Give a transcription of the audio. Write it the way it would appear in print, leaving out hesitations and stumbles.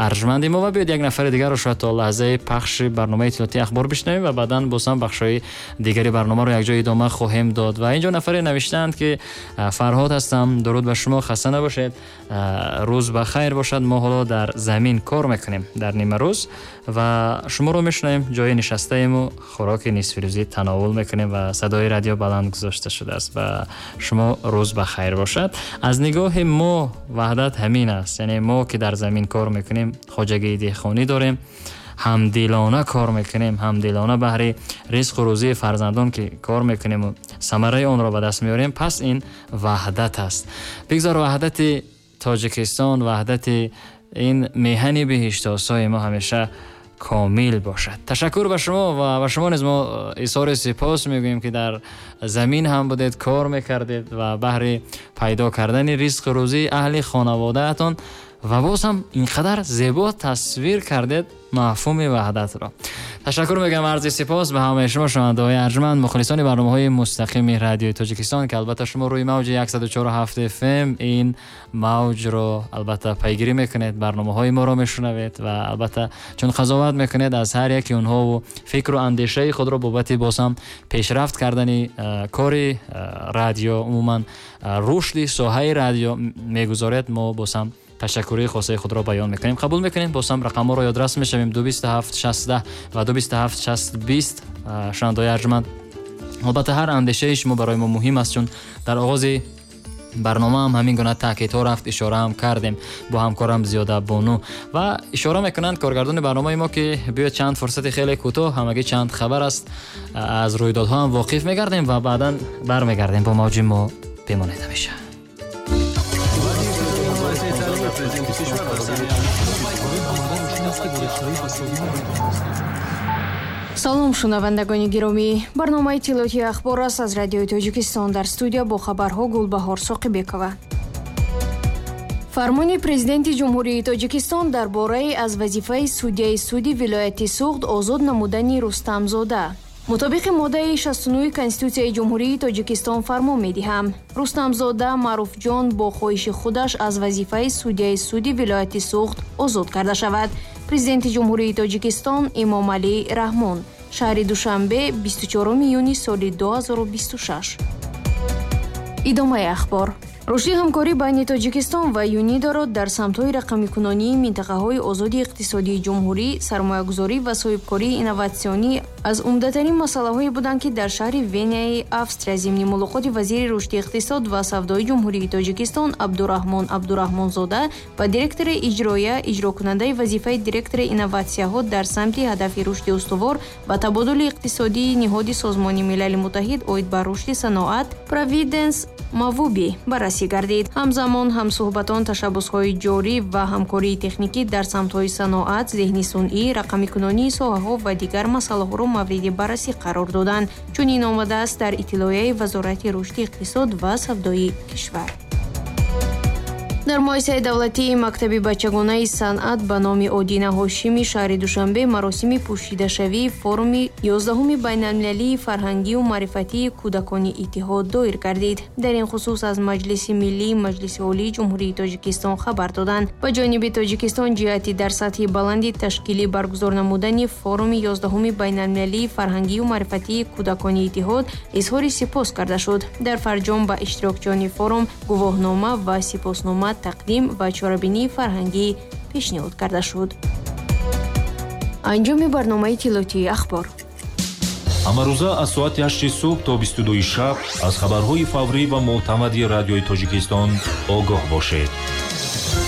Арҷманди мо, ва биёед як нафари дигарро шояд то лаҳзаи пахши барномаи иттилоотии ахбор бишнавем ва баъдан боз ҳам бахшҳои дигари барномаро якҷо идома хоҳем дод. Ва инҷо нафаре навиштаанд, ки Фарҳод ҳастам, дуруд ба шумо, хаста набошед, рӯз ба хайр бошад. Мо ҳоло дар замин кор мекунем дар нимарӯз ва шуморо мешунавем, ҷои нишастаему хӯроки нисфирӯзӣ тановул мекунем ва садои радио баланд гузошта шудааст. Ва шумо рӯз ба хайр бошад. Аз нигоҳи мо ваҳдат ҳамин аст, яъне мо ки дар замин кор мекунем, хоҷагии деҳқонӣ дорем, ҳамдилона кор мекунем, ҳамдилона баҳри ризқу рӯзии фарзандон ки кор мекунем ва самараи онро ба даст меорем, пас ин ваҳдат аст. Бигзор ваҳдати Тоҷикистон, ваҳдати ин меҳани биҳиштосои мо ҳамеша комил бошад. Ташаккур ба шумо ва ба шумо низ мо изҳори сипос мегӯем, ки дар замин ҳам будед, кор мекардед ва баҳри пайдо кардани ризқу рӯзии аҳли хонаводаатон ва боз ҳам инқадар зебо тасвир кардед мафҳуми ваҳдатро. Ташаккур мегӯям, арзи сипос ба ҳамаи шумо шунавандаҳои арҷманд, мухлисони барномаҳои мустақими радиои Тоҷикистон, ки албатта шумо рӯи мавҷи 104,7 FM ин мавҷро албатта пайгирӣ мекунед, барномаҳои моро мешунавед ва албатта чун қазоват мекунед аз ҳар яки онҳову фикру андешаи худро бобати боз ҳам пешрафт кардани кори радио, умуман рушди соҳаи радио мегузоред, мо боз ҳам ташаккурии хосаи худро баён мекунем. Қабул мекунем, боз ҳам рақамҳоро ёдрас мешавем: 227 60 ва 227 60 20. Шунавандаҳои арҷманд, албатта ҳар андешаи шумо барои мо муҳим аст, чун дар оғози барнома ҳам ҳамин гуна таъкидҳо рафт, ишора ҳам кардем бо ҳамкорам Зиёда Бону. Ва ишора мекунанд коргардони барномаи мо, ки биёед чанд фурсати хеле кӯтоҳ, ҳамагӣ чанд хабар аст, аз рӯйдодҳо ҳам воқиф мегардем ва баъдан бармегардем. Бо мавҷи мо бимонед ҳамеша. Салом, шунавандагони гиромӣ. Барномаи иттилоотии ахбор аст аз радиои Тоҷикистон. Дар студия бо хабарҳо Гулбаҳор Соқибекова. Фармони Президенти Ҷумҳурии Тоҷикистон дар бораи аз вазифаи судяи суди вилояти Суғд озод намудани Рустамзода. Мутобиқи моддаи 69 Конститутсияи Ҷумҳурии Тоҷикистон фармон медиҳам: Рустамзода Маъруфҷон бо хоҳиши худаш аз вазифаи судяи суди вилояти Суғд озод карда шавад. Президенти Ҷумҳурии Тоҷикистон Эмомалӣ Раҳмон. Шаҳри Душанбе, 24 июни соли 2026. Идомаи ахбор. Рушди ҳамкорӣ байни Тоҷикистон ва ЮНИДОро дар самтҳои рақамикунонии минтақаҳои озоди иқтисодии ҷумҳурӣ, сармоягузорӣ ва соҳибкории инноватсионӣ аз умдатарин масъалаҳое буданд, ки дар шаҳри Венаи Австрия зимни мулоқоти вазири рушди иқтисод ва савдои Ҷумҳурии Тоҷикистон Абдураҳмон Абдураҳмонзода ва директори иҷроия, иҷрокунандаи вазифаи директори инноватсияҳо дар самти ҳадафи рушди устувор ва табодули иқтисодии ниҳоди Созмони Милали Муттаҳид оид ба рушди саноат Провиденс Мавуби баррасӣ гардид. Ҳамзамон ҳамсӯҳбатон ташаббусҳои ҷорӣ ва ҳамкории техникӣ дар самтҳои саноат, зеҳни сунъӣ, рақамикунонии соҳаҳо ва дигар масъалаҳоро мавриди баррасӣ қарор доданд. Чунин омадааст дар иттилоияи Вазорати рушди иқтисод ва савдои кишвар. Дар муассисаи давлатии мактаби бачагонаи санъат ба номи Одина Ҳошими шаҳри Душанбе маросими пӯшидашавии форуми 11-уми байналмилалии фарҳангию маърифатии кӯдакони иттиҳод доир гардид. Дар ин хусус аз Маҷлиси миллии Маҷлиси Олии Ҷумҳурии Тоҷикистон хабар доданд. Ба ҷониби Тоҷикистон ҷиҳати дар сатҳи баланди ташкилӣ баргузор намудани форуми 11-уми байналмилалии фарҳангию маърифатии кӯдакони иттиҳод изҳори сипос карда шуд. Дар фарҷом ба иштирокчиёни форум гувоҳнома ва сипоснома тақдим ва чорабинии фарҳангӣ пешниҳод карда шуд. Анҷоми барномаи иттилоотии ахбор. Ҳамарӯза аз соати 8 субҳ то 22 шаб аз хабарҳои фаврӣ ва мӯътамади радиои Тоҷикистон огоҳ бошед.